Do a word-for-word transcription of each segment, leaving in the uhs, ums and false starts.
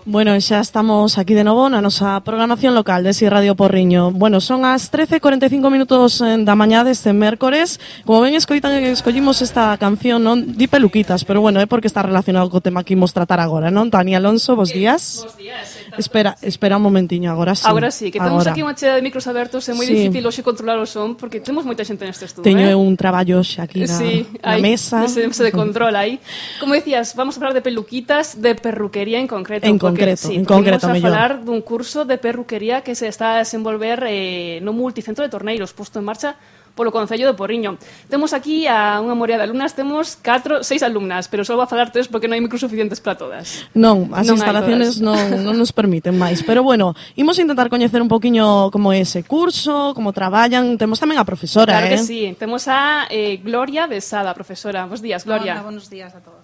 Bueno, xa estamos aquí de novo na nosa programación local de Si Radio Porriño. Bueno, son as trece e cuarenta e cinco minutos da mañá deste mércores. Como ben escoitan, escollimos esta canción, non di peluquitas, pero bueno, é porque está relacionado co tema que imos tratar agora, non? Tani Alonso, bos días. Bos días. Espera, espera un momentiño, agora sí. Agora sí, que temos agora. aquí unha chea de micros abertos, é moi Sí. difícil hoxe controlar o son, porque temos moita xente neste estudo. Teño eh? un traballo xa aquí na, sí, na hai, mesa. Ese de control aí. Como decías, vamos a falar de peluquitas, de perruquería en concreto. En porque, concreto, sí, en concreto, vamos a mellor. falar dun curso de perruquería que se está a desenvolver eh, no multicentro de Torneiros, posto en marcha polo Concello de Porriño. Temos aquí a unha morea de alumnas, temos catro, seis alumnas, pero só va a falar tres porque non hai micros suficientes para todas. Non, as Non hai instalaciones non, non nos permiten máis. Pero bueno, imos intentar coñecer un poquinho como é ese curso, como traballan. Temos tamén a profesora, Claro eh? que sí. Temos a eh, Gloria Besada, profesora. Bos días, Gloria. Hola, buenos días a todos.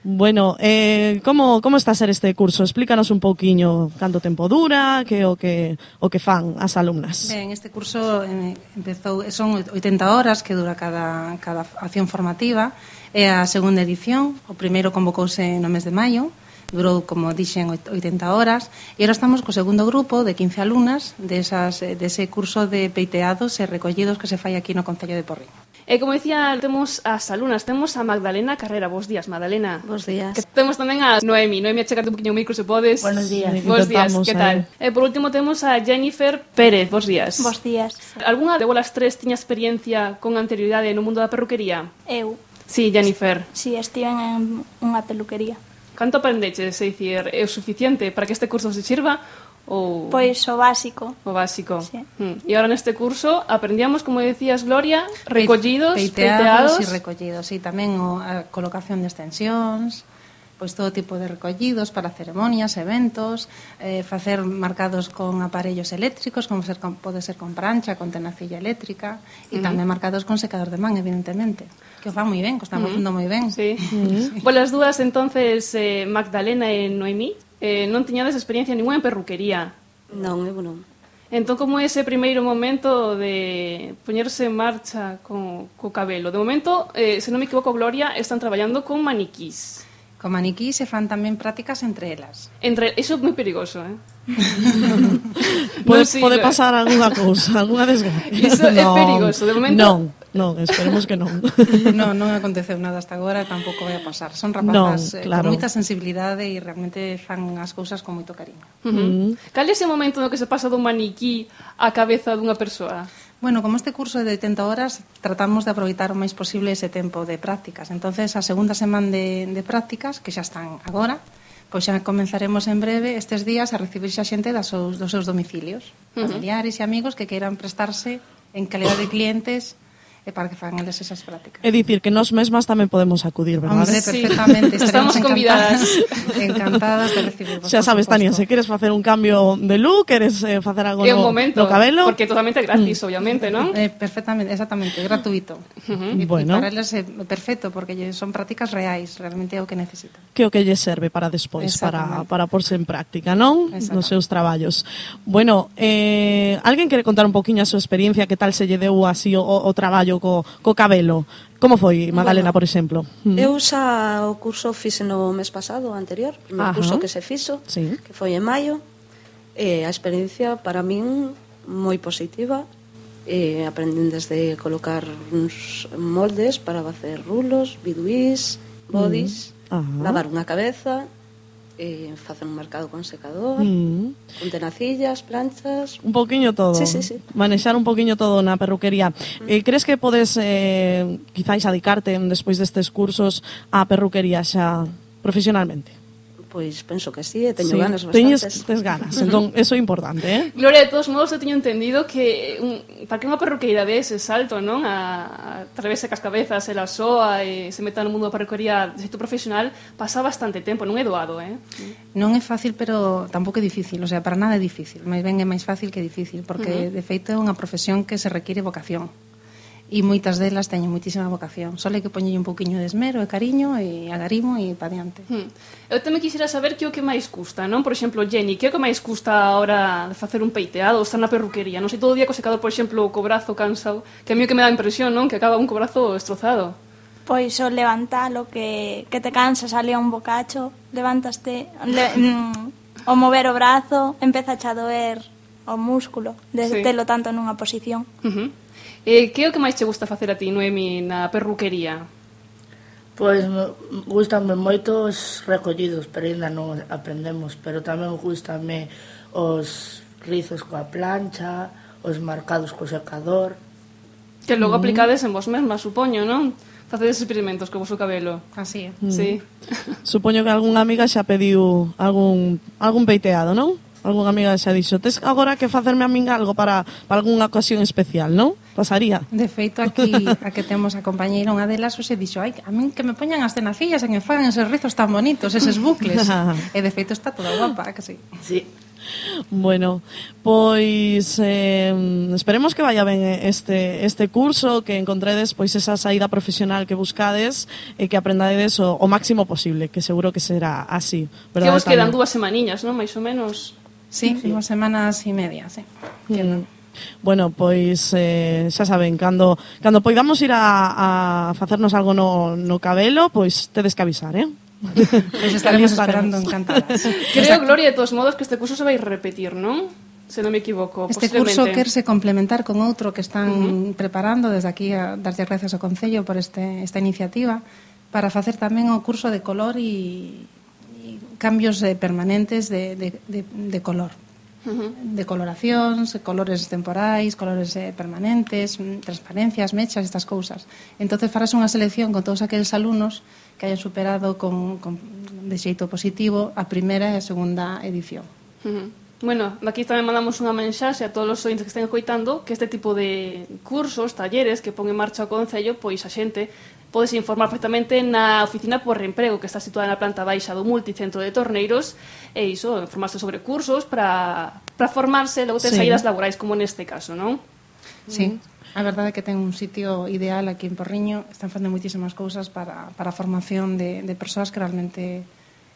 Bueno, eh, como, como está a ser este curso? Explícanos un pouquiño canto tempo dura, que o que o que fan as alumnas. Ben, este curso eh, empezou, son oitenta horas que dura cada, cada acción formativa. É a segunda edición, o primeiro convocouse no mes de maio, durou, como dixen, oitenta horas, e agora estamos co segundo grupo de quince alumnas desas, dese curso de peiteados e recollidos que se fai aquí no Concello de Porriño. E como dicía, temos as alumnas, temos a Magdalena Carrera. Bos días, Magdalena. Bos días. Que temos tamén a Noemi. Noemi, achégate un poquinho o micro se podes. Buenos días. Bos días, Intentamos, que tal? E por último temos a Jennifer Pérez. Bos días. Bos días. Alguna de volas tres tiña experiencia con anterioridade no mundo da perruquería? Eu, Sí, Jennifer. si estiven en unha peluquería. Canto aprendeches? É dicir, é o suficiente para que este curso se sirva? Ou... Pois o básico. O básico. Sí. Mm. E agora neste curso aprendíamos, como decías, Gloria, recollidos, peiteados, peiteados. e recollidos, e tamén o, a colocación de extensións, pois todo tipo de recollidos para ceremonias, eventos, eh, facer marcados con aparellos eléctricos, como ser con, pode ser con prancha, con tenacilla eléctrica, e Uh-huh. tamén marcados con secador de man, evidentemente, que o fan moi ben, que o están Uh-huh. facendo moi ben. Sí. Uh-huh. Bueno, as dúas, entonces, eh, Magdalena e Noemí, eh, non tiñades experiencia ninguna en perruquería. Non, eu non. Entón, como é ese primeiro momento de poñerse en marcha co, co cabelo? De momento, eh, se non me equivoco, Gloria, están traballando con maniquís. Con maniquí se fan tamén prácticas entre elas. Entre, iso é moi perigoso, eh? Pode, Non, sí, pode eh. pasar algunha cousa, algunha desgracia. Iso é perigoso, de momento- Non, non, esperemos que non. Non, non aconteceu nada hasta agora, tampouco vai a pasar. Son rapazas Non, eh, claro. con moita sensibilidade e realmente fan as cousas con moito cariño. Uh-huh. Cal é ese momento no que se pasa dun maniquí á cabeza dunha persoa? Bueno, como este curso é de oitenta horas, tratamos de aproveitar o máis posible ese tempo de prácticas. Entonces, a segunda semana de, de prácticas, que xa están agora, pois xa comenzaremos en breve estes días a recibir xa xente das seus, dos seus domicilios, familiares e amigos que queiran prestarse en calidad de clientes e para que fagan eles esas prácticas. É dicir, que nós mesmas tamén podemos acudir, verdad? Hombre, Sí. perfectamente. Estamos estaremos convidadas. Encantadas de recibir. Xa sabes, Tania, se queres facer un cambio de look, queres eh, facer algo É un no, momento, no cabelo, porque é totalmente gratis, obviamente, non? Eh, perfectamente, exactamente, gratuito. Uh-huh. E Bueno. para eles é perfecto, porque lle- son prácticas reais, realmente é o que necesitan. que o que lle serve para despois, para, Exactamente. para porse en práctica, non? Exactamente. Nos seus traballos. Bueno, eh, alguén quere contar un poquinho a súa experiencia, que tal se lle deu así o, o traballo co, co cabelo? Como foi, Magdalena, Bueno, por exemplo? Mm. Eu xa o curso fixe no mes pasado, o anterior, o primeiro Ajá. curso que se fixo, Sí. que foi en maio, e a experiencia para min moi positiva. E aprendín desde colocar uns moldes para facer rulos, biduís, bodys, Mm. Ajá. lavar unha cabeza, e facer un marcado con secador, Mm. con tenacillas, planchas. Un poquinho todo. Sí, sí, sí. Manexar un poquinho todo na perruquería. Eh, crees que podes, eh, quizáis, adicarte despois destes cursos á perruquería xa profesionalmente? Pois penso que sí, e teño Sí, ganas teñes, bastantes. tes ganas, entón, eso é importante, eh? Gloria, de todos modos, eu teño entendido que un, para que unha perruqueira dé ese salto, non? A, a atravese cas cabezas, e la soa e se meta no mundo da perruquería de xeito profesional, pasa bastante tempo, non é doado, eh? Non é fácil, pero tampouco é difícil, o sea, para nada é difícil, máis ben é máis fácil que difícil, porque uh -huh. de feito é unha profesión que se requiere vocación. E moitas delas teñen moitísima vocación. Só hai que poñerlle un pouquiño de esmero e cariño e agarimo e pa diante. Hmm. Eu tamén quixera saber que o que máis custa, non? Por exemplo, Jenny, que é o que máis custa a hora de facer un peiteado ou estar na perruquería? Non sei, todo o día co secador, por exemplo, co brazo cansado, que a mí o que me dá impresión, non? Que acaba un co brazo destrozado. Pois o levantalo, que, que te cansas ali a un bocacho, levantaste... Le, mm, o mover o brazo, empeza a doer o músculo de Sí. telo tanto nunha posición. Uh -huh. eh, que é o que máis che gusta facer a ti, Noemi, na perruquería? Pois gustanme moito os recollidos, pero ainda non aprendemos, pero tamén gustanme os rizos coa plancha, os marcados co secador. Que logo aplicades en vos mesmas, supoño, non? Facedes experimentos co vosso cabelo. Así é. Sí. Supoño que algunha amiga xa pediu algún algún peiteado, non? Algunha amiga xa dixo, tes agora que facerme a min algo para, para algunha ocasión especial, non? Pasaría. De feito, aquí a que temos a compañeira, unha delas, hoxe dixo, ai, a min que me poñan as tenacillas e que me fagan esos rizos tan bonitos, eses bucles. E de feito está toda guapa, que sí. Sí. Bueno, pois eh, esperemos que vaya ben este este curso, que encontredes pois esa saída profesional que buscades e que aprendades o, o máximo posible, que seguro que será así. Que vos quedan dúas semaniñas, non? Mais ou menos. Sí, sí. Dúas semanas e media, sí. Mm. Bueno, pois eh, xa saben, cando cando poidamos ir a, a facernos algo no, no cabelo, pois tedes que avisar, eh? Pois estaremos esperando encantadas. Creo, Gloria, de todos modos, que este curso se vai repetir, non? Se non me equivoco, este curso querse complementar con outro que están uh -huh. preparando desde aquí a darlle gracias ao Concello por este, esta iniciativa para facer tamén o curso de color e, e cambios eh, permanentes de, de, de, de color. Uh -huh. De coloracións, colores temporais, colores eh, permanentes, transparencias, mechas, estas cousas. Entonces farás unha selección con todos aqueles alumnos que hayan superado con, con, de xeito positivo a primeira e a segunda edición. Uh -huh. Bueno, aquí tamén mandamos unha mensaxe a todos os ointes que estén coitando que este tipo de cursos, talleres que pon en marcha o Concello, pois a xente podes informar perfectamente na oficina por reemprego que está situada na planta baixa do multicentro de Torneiros e iso, informarse sobre cursos para, para formarse, logo ter sí. saídas laborais como neste caso, non? Sí, a verdade é que ten un sitio ideal aquí en Porriño, están facendo moitísimas cousas para, para a formación de, de persoas que realmente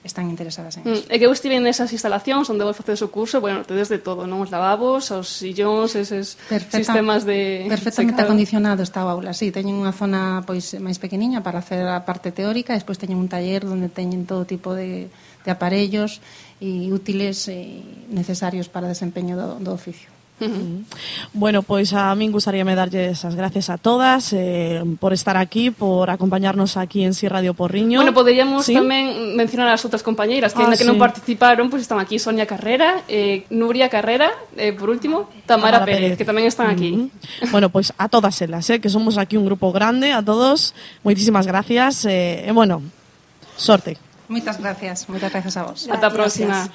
están interesadas en eso. Mm, e que eu estive nesas instalacións onde vos facedes o curso, bueno, tedes de todo, non? Os lavabos, os sillóns, eses Perfecta, sistemas de... Perfectamente secado. Acondicionado está o aula, sí, teñen unha zona pois máis pequeniña para hacer a parte teórica, e despois teñen un taller onde teñen todo tipo de, de aparellos e útiles e necesarios para o desempeño do, do oficio. Uh-huh. Bueno, pois a min gustaríame darlle esas gracias a todas eh, por estar aquí, por acompañarnos aquí en Si Radio Porriño. Bueno, poderíamos ¿Sí? tamén mencionar as outras compañeiras que, ah, que sí. non participaron, pois están aquí Sonia Carrera, eh, Nuria Carrera, eh, por último, Tamara, Tamara Pérez, Pérez, que tamén están aquí. Uh-huh. Bueno, pois a todas elas, eh, que somos aquí un grupo grande, a todos, moitísimas gracias, e eh, eh, bueno, sorte. Moitas gracias, moitas gracias a vos. Ata a próxima.